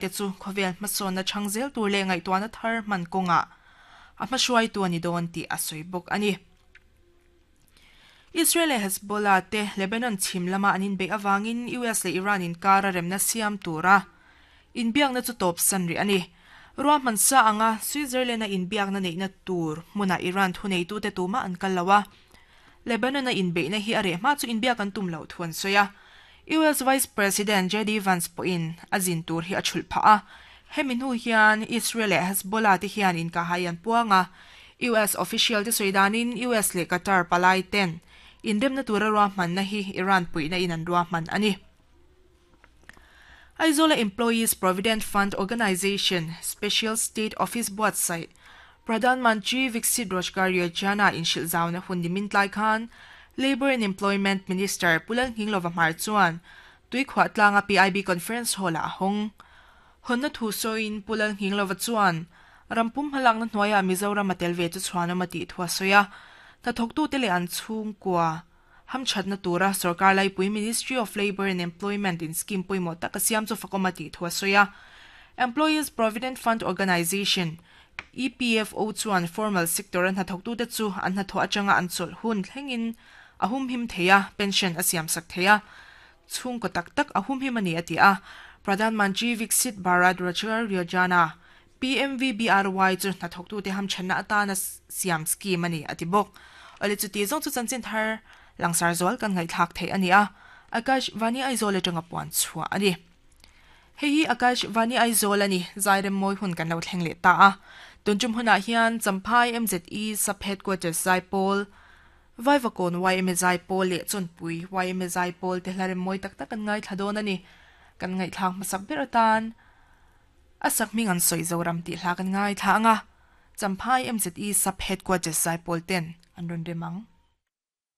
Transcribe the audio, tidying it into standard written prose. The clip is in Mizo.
Te chu khawvel hmasawnna chhang zel tur leh ngaihtuahna thar hman kawngah a hmahruaitu a ni dawn tih a sawi bawk a ni. Israel leh Hezbollah te Lebanon chhim lama an inbeih avangin US leh Iran inkara remna siam tura inbiakna chu tawpsan rih a ni. Ruahman sa anga Switzerland-a inbiakna neihna tur hmunah Iran thuneitute tumah an kal lo a, Lebanon-a inbeihna hi a reh hma chu inbiak an tum loh thu an sawi a. US Vice President JD Vance pawhin a zin tur hi a chhulh phah a. Hemi hnu hian Israel leh Hezbollah te hian inkahai an puang a. US official te sawi danin US leh Qatar palai ten inremna tura ruahmanna hi Iran puihna in an ruahman a ni. Aizawl-a Employees Provident Fund Organisation Special State Office buatsaih Pradhan Mantri Viksit Rojgar Yojana inhrilh zauna hun nimin tlai khan Labour and Employment Minister Pu Lalnghinglova Hmar chuan Tuikhuah tlanga PIB Conference Hall-ah a hawng. Hawnna thu sawiin Pu Lalnghinglova chuan rampum hmalakna hnuaiah Mizoram a tel ve chu chhuanawm a tih thu a sawi a, hnathawktute leh an chhungkua Hamthatna tura sorkar laipui Ministry of Labour and Employment in scheme pawimawh tak a siam chu fakawm a tih thu a sawi a. Employees Provident Fund Organisation, EPFO, chuan formal sector-a hnathawktute chu an hnathawh atanga an chawlh hun thlengin a humhim thei a, pension a siamsak thei a, chhungkaw tak tak a humhim a ni a ti a. Pradhan Mantri Viksit Bharat Rojgar Yojana, PMVBRY, chu hnathawktute hamthatna atana siam scheme a ni, a ti bawk. Awle chuti zawng chu chanchin thar langsar zual kan ngaihthlak theih a ni a, Akash Vani Aizawl atanga puan chhuah a ni. Hei hi Akash Vani Aizawl a ni, Zairem mawi hun kan lo thleng leh ta a. Tun tum hunah hian Champhai MZE Sub Headquarters Zaipawl, Vaivakawn YMA Zaipawl leh Chawnpui YMA Zaipawl te hla rem mawi tak tak kan ngaithla dawn a ni. Kan ngaihthlak hmasak ber atan A sakhming an sawi Zoram tih hla kan ngaithla ang a, Champhai MZE Sub Headquarters Zaipawl ten an rawn rem ang.